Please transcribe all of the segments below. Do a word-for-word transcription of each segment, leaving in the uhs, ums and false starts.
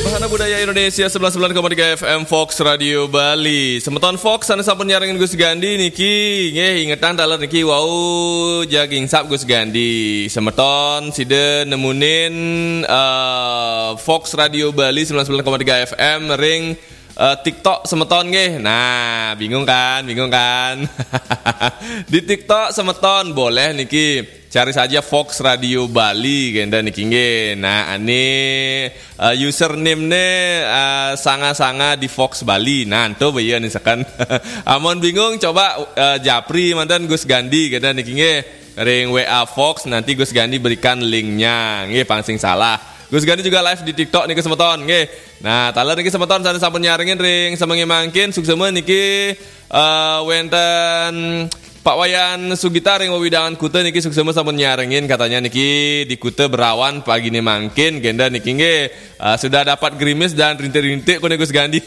Bahana Budaya Indonesia sembilan sembilan koma tiga F M Fox Radio Bali. Semeton Fox sané sampun nyarengin Gus Gandi niki, nggih ingetang taler niki wau jagi ngingsap Gus Gandi. Semeton sida nemunin eh, Fox Radio Bali sembilan sembilan koma tiga F M ring eh, TikTok semeton nggih. Nah, bingung kan? Bingung kan? Di TikTok semeton boleh niki cari saja Fox Radio Bali kenten niki nggih. Nah, ane eh, username-ne eh, sanga-sanga di Fox Bali. Nah, ento beya nih seken. Amun bingung coba eh, japri manten Gus Gandi kenten niki nggih. Ring W A Fox nanti Gus Gandi berikan linknya. Nggih, pang sing salah. Gus Gandi juga live di TikTok niki semeton nggih. Nah, taler niki semeton sané sampun nyarengin ring semengé mangkin suksema niki eh, wenten Pak Wayan Sugita ring wewidangan Kuta niki suksema sampun nyarengin katanya niki di Kuta berawan pagine mangkin kenten niki nggih. Eh, sudah dapat gerimis dan rintik-rintik kone Gus Gandi.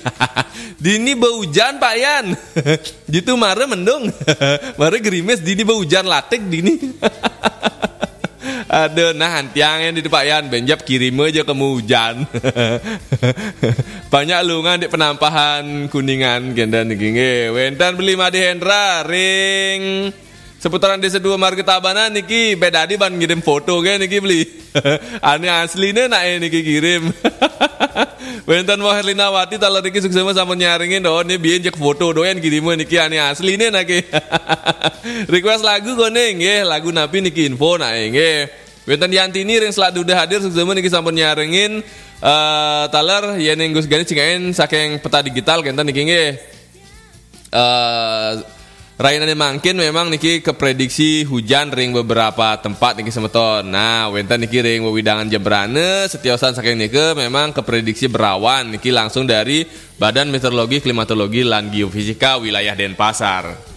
Dini beujan Pak Yan. Gitu mare mendung. Mare gerimis dini beujan latik dini. Aduh, nah antiang yang di Pak Yan benjap kirim aja ke hujan. Banyak lungan di penampahan Kuningan kenten niki nggih. Wenten beli Made Hendra ring seputaran Desa Dua Marga Tabanan niki bedadi ban ngirim foto ge niki beli. Ane asline nak niki kirim. Wenten Wah Herlinawati taler niki suksema sampun nyarengin doh ni biyen jek foto doyan kirim niki ane asline nake. Request lagu kone nggih, lagu napi niki info nak nggih. Wenten Yantini ring Selat Duda hadir suksema niki sampun nyarengin eh taler yen Gus Gani cingain saking peta digital kenten niki nggih. Eh rainane mangkin memang niki keprediksi hujan ring beberapa tempat niki semeton. Nah, wenten niki ring wewidangan Jembrana, setiosan saking nika memang keprediksi berawan niki langsung dari Badan Meteorologi, Klimatologi, lan Geofisika wilayah Denpasar.